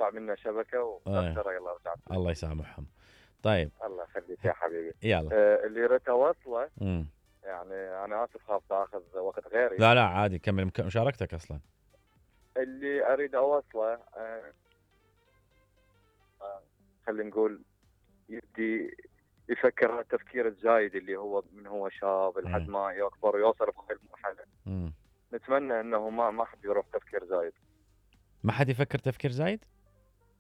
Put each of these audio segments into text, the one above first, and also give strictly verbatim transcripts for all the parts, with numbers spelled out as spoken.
تقطع منا شبكه وتاثر يلا رجعت. الله يسامحهم. طيب الله يخليك يا حبيبي. يلا آه اللي ريت اوصله امم يعني انا اسف خاف تاخذ وقت غيري. لا لا عادي كمل مشاركتك اصلا. اللي اريد اوصله آه آه خلينا نقول يبدي يفكر التفكير الزايد اللي هو من هو شاب لحد ما يكبر ويوصل بهاي المرحله. امم نتمنى انه ما ما حد يروح تفكير زايد. ما حد يفكر تفكير زايد؟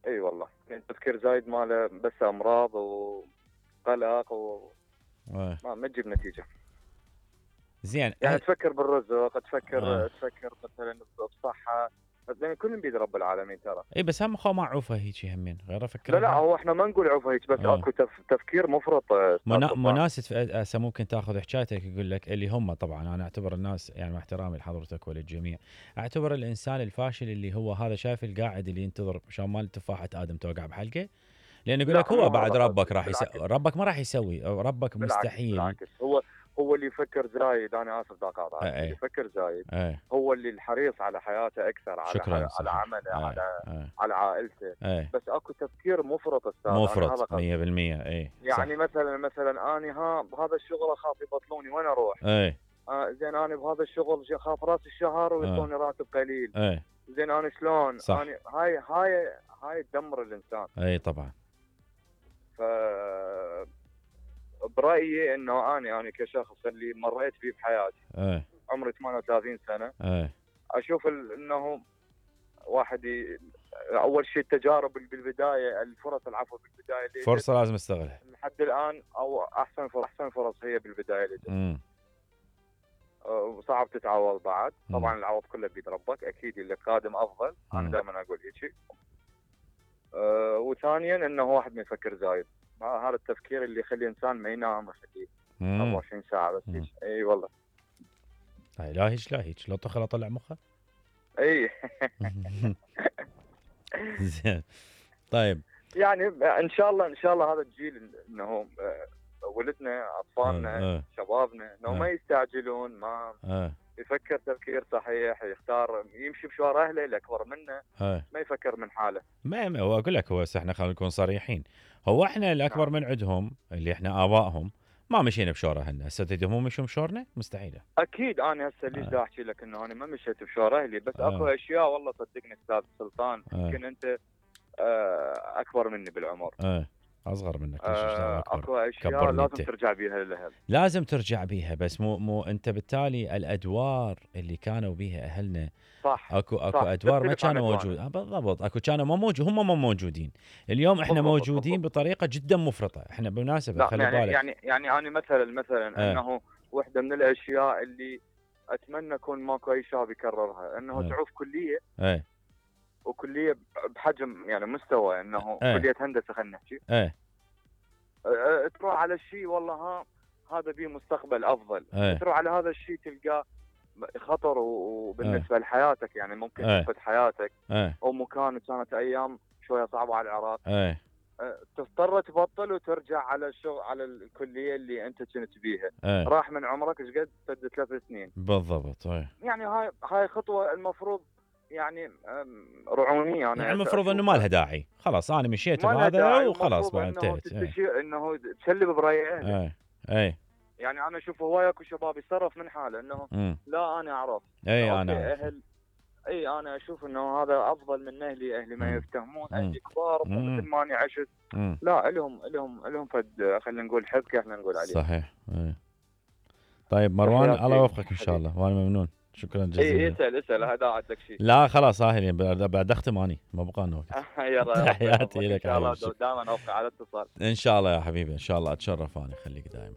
اي والله يعني تفكير زايد ماله بس امراض وقلق و أه. ما ما تجيب نتيجه. زين يعني أه. تفكر بالرزق تفكر أه. تفكر مثلا بصحه بس يعني كل بيد رب العالمين ترى. اي بس هم خو ما عوفه هيك همين غير افكر. لا لا هو احنا ما نقول عوفه هيك بس أه. اكو تف... تفكير مفرط. منا... مناس هسه ممكن تاخذ حكايتك يقول لك اللي هم طبعا انا اعتبر الناس يعني مع احترامي لحضرتك وللجميع اعتبر الانسان الفاشل اللي هو هذا شايف القاعد اللي ينتظر مشان مال تفاحه ادم توقع بحلقه لان يقول لك هو بعد ربك راح يسوي ربك ما راح يسوي ربك بالعكس مستحيل. بالعكس هو هو اللي يفكر زايد انا اسف ذاك هذا أه. اللي يفكر زايد أه. هو اللي الحريص على حياته اكثر على شكرا على عمله أه. على أه. على عائلته. أه. بس اكو تفكير مفرط استاذ مفرط مية بالمية. اي يعني مثلا مثلا اني ها بهذا الشغل اخاف يبطلوني وين اروح؟ اي آه زين انا بهذا الشغل اخاف راس الشهر ويعطوني راتب قليل. اي زين انا شلون؟ صح. اني هاي هاي هاي تدمر الانسان. اي طبعا. ف برايي انه اني انا كشخص اللي مريت فيه بحياتي اي عمري ثمانية وثلاثين سنه اي اشوف انه واحد ي... اول شيء التجارب بالبدايه الفرص العفو بالبدايه اللي فرصه لازم استغلها لحد الان او احسن فرص احسن فرص هي بالبدايه اللي امم وصعب تتعوض بعد. طبعا العوض كله بيد ربك اكيد اللي قادم افضل. مم. انا دائما اقول هيك. أه وثانيا انه واحد ما يفكر زايد هذا التفكير اللي يخلي الانسان ما ينام يخليه أربعة وعشرين ساعه بس. اي أي والله اي لا هيك لا هيك لو طخل اطلع مخه. اي زين طيب يعني ان شاء الله ان شاء الله هذا الجيل انه ولدنا اطفالنا أه. شبابنا انه أه. ما يستعجلون ما أه. يفكر تفكير صحيح يختار يمشي بشوار اهله اللي اكبر منه. أه. ما يفكر من حاله. ما ما هو اقول لك هو احنا خلينا نكون صريحين هو احنا الاكبر من عندهم اللي احنا ابائهم ما مشينا بشوره اهلنا هسه تدهم مشوا بشورنا مستحيله. اكيد انا هسه ليش دا احكي لك انه انا ما مشيت بشوار اهلي بس أه. اكو اشياء والله صدقني استاذ سلطان يمكن أه. انت اكبر مني بالعمر. أه. اصغر منك أه اكو اشياء لازم انت. ترجع بيها للاهل. لازم ترجع بيها بس مو مو انت بالتالي الادوار اللي كانوا بيها اهلنا صح اكو اكو صح. ادوار ما كانوا موجود بالضبط اكو كانوا ما موجود هم ما موجودين اليوم احنا بالضبط. موجودين بالضبط. بطريقه جدا مفرطه احنا بالمناسبه خلي يعني بالك يعني يعني انا مثلا مثلا اه. انه واحده من الاشياء اللي اتمنى يكون ماكو اي شاب يكررها انه اه. تعوف كليه اه. وكليه بحجم يعني مستوى انه اه. كليه هندسه خلينا نحكي اه. اه. تروح على الشيء والله ها هذا بيه مستقبل افضل. اه. تروح على هذا الشيء تلقاه خطر وبالنسبه اه. لحياتك يعني ممكن اه. تفقد حياتك اه. او مكان كانت ايام شويه صعبه على العراق. اه. تضطر تبطل وترجع على الشغل على الكليه اللي انت كنت بيها. اه. راح من عمرك ايش قد سد ثلاث سنين بالضبط. اه. يعني هاي هاي خطوه المفروض يعني رعونيه. انا يعني المفروض انه ما لها داعي خلاص انا مشيت بهذا وخلاص بعد انتهت. انه, إنه تسلب براي اهلك. اه. اي يعني انا اشوف هواي اكو شباب يتصرف من حاله انه م. لا انا اعرف اي انا اهل اي انا اشوف انه هذا افضل من اهلي اهلي ما يفتهمون اهلي كبار مثل ما اني عشت. م. لا لهم لهم لهم فد خلينا نقول حبكه احنا نقول عليه. صحيح. اي. طيب مروان الله يوفقك ان شاء الله وانا ممنون شكرا جزيلا. اي اسال اسال هذا عندك شيء. لا خلاص هاي بعد اختم اني ما بقى لنا وقت. تحياتي لك ان شاء الله دائما اوقع على اتصال ان شاء الله يا حبيبي ان شاء الله اتشرف انا خليك دائما.